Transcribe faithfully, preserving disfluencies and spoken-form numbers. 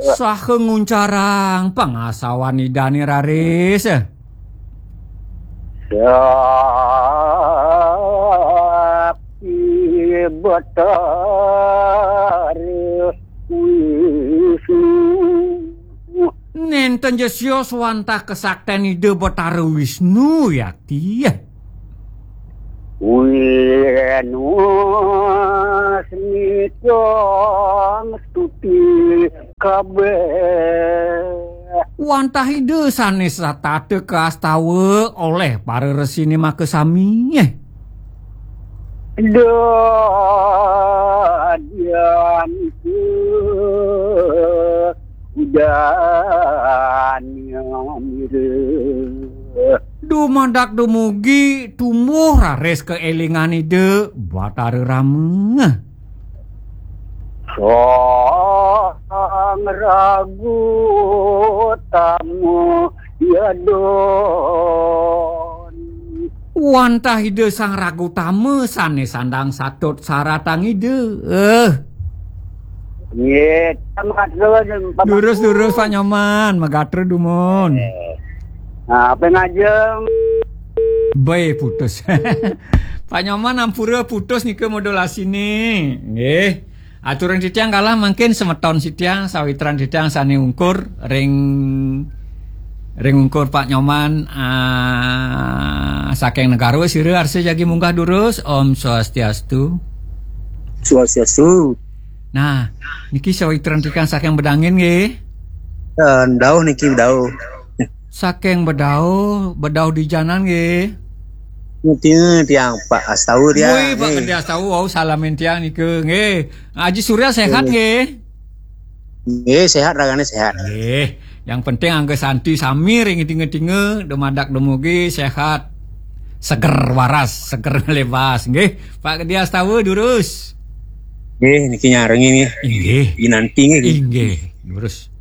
Saha nguncarang pangasawan Idane raris? Sakti Betara Wisnu. Nenten ja sios wantah kesakten Ida Betara Wisnu, yakti. Winus mitang stuti kabeh. Wantah Ida sane satata kastawa oleh para resine makasami. Dadian ke udanya mira. Dumadak dumugi tumbuh raris kaelingan Ida Batara Rama. Sang Ragu Tama Yadon. Wantah Ida Sang Ragu Tama sane sandang satut saratang Ida. Eh. Nggih, terima kasih, Pak Durus, Mangku. Durus, Pak Nyoman, magatra dumun. Eh. Nah, apa ngajeng? Bae putus. Pak Nyoman ampura putus nika modulasine. Nggih. Aturan titiang kalah mangkin semeton sitiang sawitran titiang sane ungkur ring ring ungkur Pak Nyoman, ah, saking Negara sira arsa jagi munggah durus. Om Swastiastu. Swastiastu. Nah, niki sawitran titiang saking Bedangin nggih. Eh, dauh niki dauh. Saking Bedauh, Bedauh di Janan nggih. Ngerti tiang Pak Astawa tiang. Woi, Pak Nggih. Gede Astawa, wau salamin tiang nika nggih. Haji Surya sehat Nggih. Nggih? Nggih, sehat ragane sehat. Nggih. Yang penting angga santi sami ring tinga-tinga, dumadak dumugi sehat. Seger waras, seger lebas nggih. Pak Gede Astawa durus. Nggih, niki nyarengi nggih. Inggih. Inanti nggih. Inggih, durus.